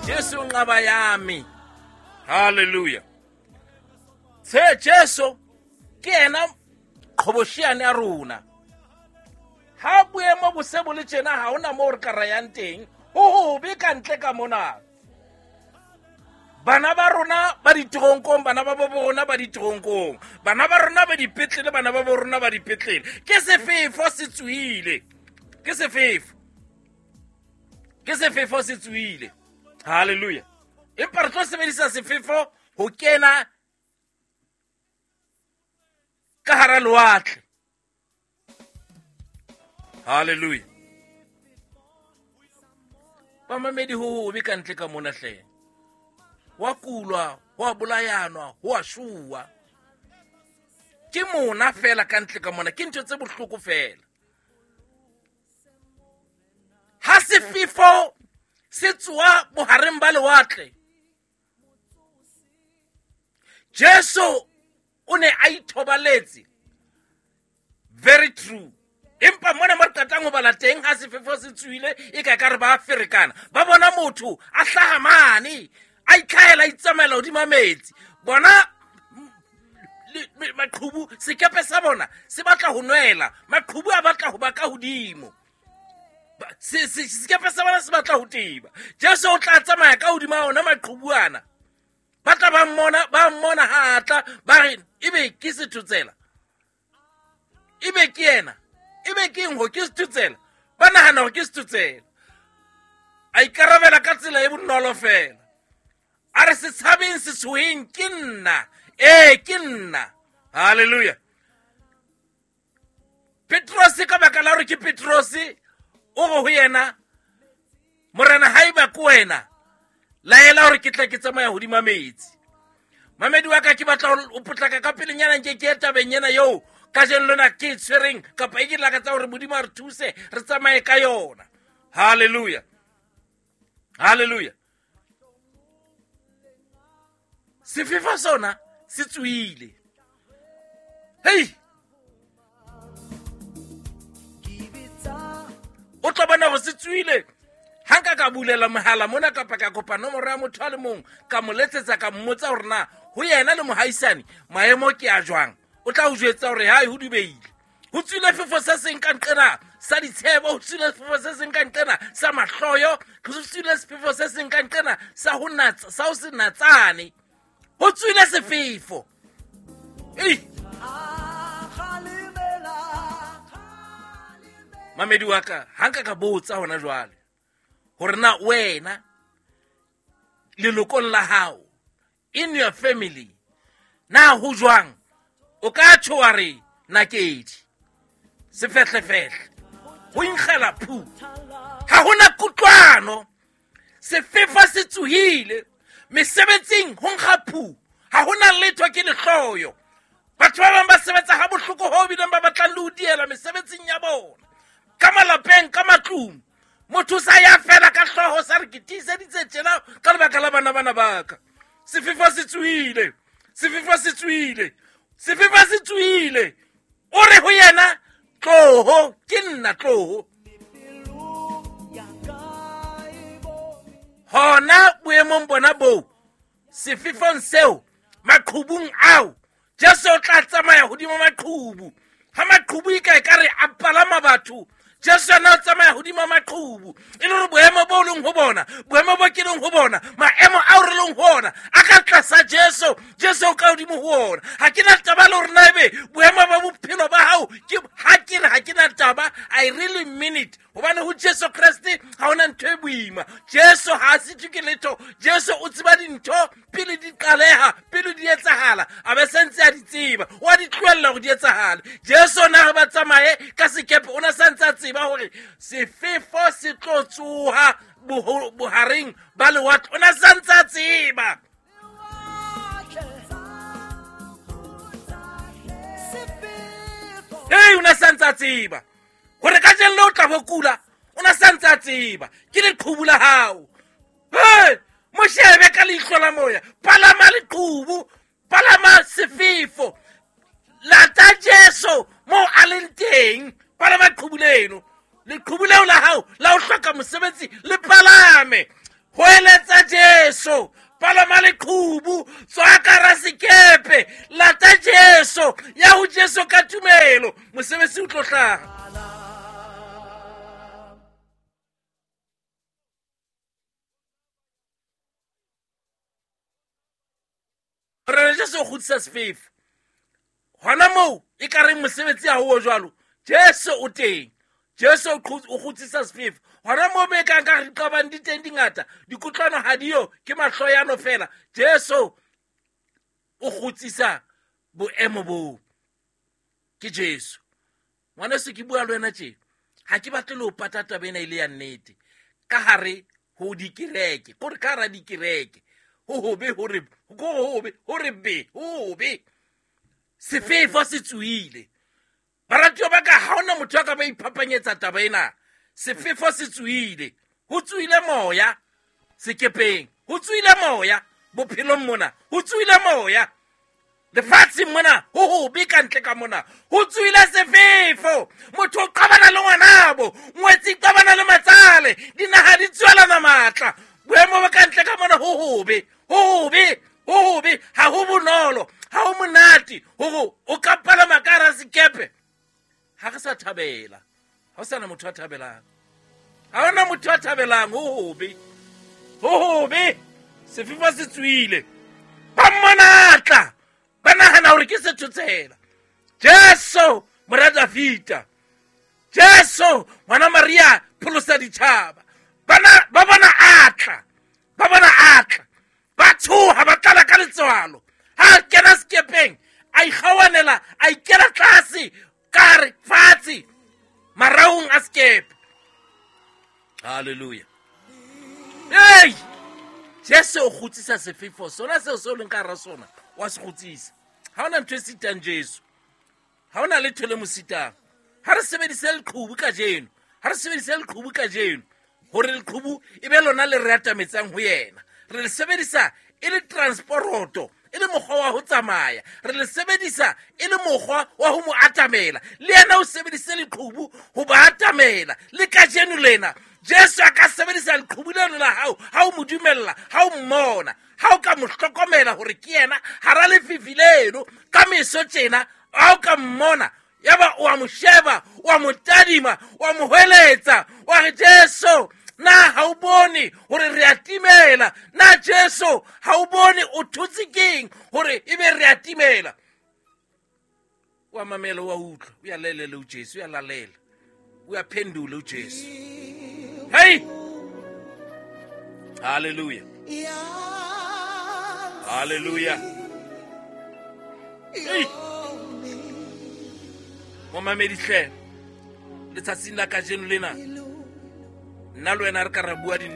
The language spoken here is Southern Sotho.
Jesu nqaba yami. Hallelujah. Se Jesu ke yena qhobosheane ya rona. Ha boemo bo se bo le tjena ha hona moo re ka rayang teng. Ho hobe ka ntle ka mona. Bana ba rona ba diteronkong, bana ba bo rona ba diteronkong, bana ba rona ba dipetlele, bana ba bo rona ba dipetlele. Ke sefefo se tswile, ke sefefo, ke sefefo se tswile. Hallelujah. Empa re tlo sebedisa sefefo ho kena ka hara lewatle. Hallelujah. Bamamedi ho hobe ka ntle ka mona hle. Wa kulwa, ho a bolayanwa, ho a shuwa. Ke mona fela ka ntle ka mona, ke ntho tse bohloko fela. Ha sefefo se tsoa bohareng ba lewatle, Jesu o ne a ithobaletse. Very true. Empa mona mo re qetang ho bala teng ha sefefo se tsohile e ka ka re ba ferekana, ba bona motho a hlaha mane, a itlhahela, a itsamaela hodima metsi. Bona maqhubu, sekepe sa bona se batla ho nwela, maqhubu a batla ho ba ka hodimo. Sekepe sa bona se batla ho teba. Jesu o tla tsamaya ka hodima ona maqhubu ana. Ba tla ba mmona, ba mmona ha a tla, ba re ebe ke sethotsela, ebe ke yena, ebe ke eng ho ke sethotsela. Ba nahana hore ke sethotsela. A ikarabela ka tsela e bonolo fela. A re se tshabeng, se tshoheng, ke nna. Ee, ke nna. Hallelujah. Petrose ka baka la hore ke Petrose, o re ho yena, Morena, haeba ke wena, laela hore ke tla ke tsamaya hodima metsi. Mamedi wa ka, ke batla ho potlaka ka pelenyana nke ke ye tabeng ena eo kajeno lena ke e tshwereng, kapa e ke lakatsa hore Modimo a re thuse re tsamaye ka yona. Hallelujah. Hallelujah. Sefefo sona se tswile. Hei! O tla bona hore se tswile. Ha nka ka bulela mohala mona kapa ka kopa nomoro ya motho a le mong, ka mo letsetsa, ka mmotsa hore na ho yena le mohaisane maemo ke a jwang, o tla o jwetsa hore hae ho dubeile. Ho tswile sefefo se seng ka nqena sa ditshebo, ho tswile sefefo se seng ka nqena sa mahloyo, ho tswile sefefo se seng ka nqena sa ho natsa, sa ho se natsane. Ho tswile sefefo. Ei! Mamedi wa ka, ha nka ka botsa hona jwale hore na wena lelokong la hao, in your family, na ho jwang, o ka tjho wa re nakedi sefehlefehle, ho inkgela phu, ha hona kutlwano, sefefo se tsohile mesebetsing, ho nkga phu, ha hona letho, ke lehloyo. Batho ba bang ba sebetsa ha bohloko ho bileng ba batlang le ho diela mesebetsing ya bona, ka malapeng, ka matlung. Motho sa ya fela ka hlooho sa re ke tiiseditse tjena ka lebaka la bana bana ba ka. Sefefo se tsohile, sefefo se tsohile, sefefo se tsohile. O re ho yena, tloho, ke nna, tloho. Hona boemong bona boo, sefefong seo, maqhubung ao, Jesu o tla tsamaya hodima maqhubu. Ha maqhubu e ka e ka re a palama batho, Jesu yena o tsamaya hodima maqhubu. E le hore boemo bo leng ho bona, boemo bo ke leng ho bona, maemo ao re leng ho ona, a ka tlasa Jesu. Jesu o ka hodimo ho ona. Ha ke na taba le hore na ebe boemo ba bophelo ba hao ke, ha ke re ha ke na taba, I really mean it. Hobane ho Jesu Kreste ha hona ntho e boima. Jesu ha a sitwe ke letho. Jesu o tseba dintho pele di qaleha, pele di etsahala, a be santse a di tseba, o a di tlohella hore di etsahale. Jesu na re ba tsamaye ka sekepe, o na santse a tseba hore sefefo se tlo tsoha bohareng ba lewatle, o na santse a tseba. Ei, o na santse a tseba hore kajeno le o tla bo kula, o na santse a tseba ke leqhubu la hao. Hey, mo shebe ka leihlo la moya, palama leqhubu, palama sefefo, lata Jesu moo a leng teng, palama leqhubu leno, leqhubu leo la hao la ho hloka mosebetsi le palame. Hoeletsa Jesu, palama leqhubu, tswa ka hara sekepe, lata Jesu, ya ho Jesu ka tumelo, mosebetsi o tlo hlaha. Morena Jesu o kgutlisa sefefo hona moo e ka reng mosebetsi ha o jwalo. Jesu o teng, Jesu o kgutsisa sefefo hona moo be kang ka re diqabang di teng dingata, dikutlwano ha diyo, ke mahloyano fela. Jesu o kgutsisa boemo boo. Ke Jesu. Ngwaneso, ke bua le wena tje, ha ke batle le ho pata taba ena e le ya nnete. Ka hare ho dikereke, kore ka hara dikereke, ho hobe hore, ko hobe hore be, ho hobe. Sefefo se tsohile. Baratuwa ba ka, ha hona motho a ka ba iphapanyetsa taba ena. Sefefo se tsohile. Ho tsohile moya sekepeng, ho tsohile moya bophelong mona, ho tsohile moya lefatsheng mona, ho hobe ka ntle ka mona, ho tsohile sefefo. Motho o qabana le ngwanabo, ngwetsi qabana le matsale, dinaha di tswelana matla. Boemo ba ka ntle ka mona ho hobe, ho hobe, ho hobe, ha ho bonolo, ha ho monate hore o ka palama ka hara sekepe. Ha re sa thabela, ha ho sana motho a thabelang, ha hona motho a thabelang. Ho hobe, ho hobe, sefefo se tsohile. Ba mmonatla, ba nahana hore ke sethotsela. Jesu mora Davida, Jesu ngwana Maria, pholosa ditjhaba. Bana ba bona atla, ba bona atla, ba tshoha, ba tlala ka letswalo. Ha a kena sekepeng, a ikgawanela, a ikela tlase ka hare fatshe maraong a sekepe. Hallelujah. Hey! Jesu o kgutsisa sefefo sona seo se o leng ka hara sona, wa se kgutsisa. Ha hona ntho e sitang Jesu, ha hona letho le mo sitang. Ha re sebedise leqhubu kajeno, ha re sebedise leqhubu kajeno hore leqhubu e be lona le re atametsang ho yena. Re le sebedisa e le transporoto, e le mokgwa wa ho tsamaya, re le sebedisa e le mokgwa wa ho mo atamela. Le yena o sebedise leqhubu ho ba atamela. Le kajeno lena Jesu a ka sebedisa leqhubu leno la hao ha o mo dumella, ha o mmona, ha o ka mo hlokomela hore ke yena hara lefifi leno ka meso tjena. Ha o ka mmona, yaba o a mo sheba, o a mo tadima, o a mo hweletsa, wa re, Jesu, na ha o bone hore re a timela? Na Jesu ha o bone o thotse keng hore ebe re a timela? Wa mamela, wa utlwa, o ya lalela o Jesu, o ya lalela, o ya phendula o Jesu. Hey! Hallelujah. Hallelujah. Hey! Momamedi hle, letsatsing la kajeno lena, nna le wena re ka ra bua di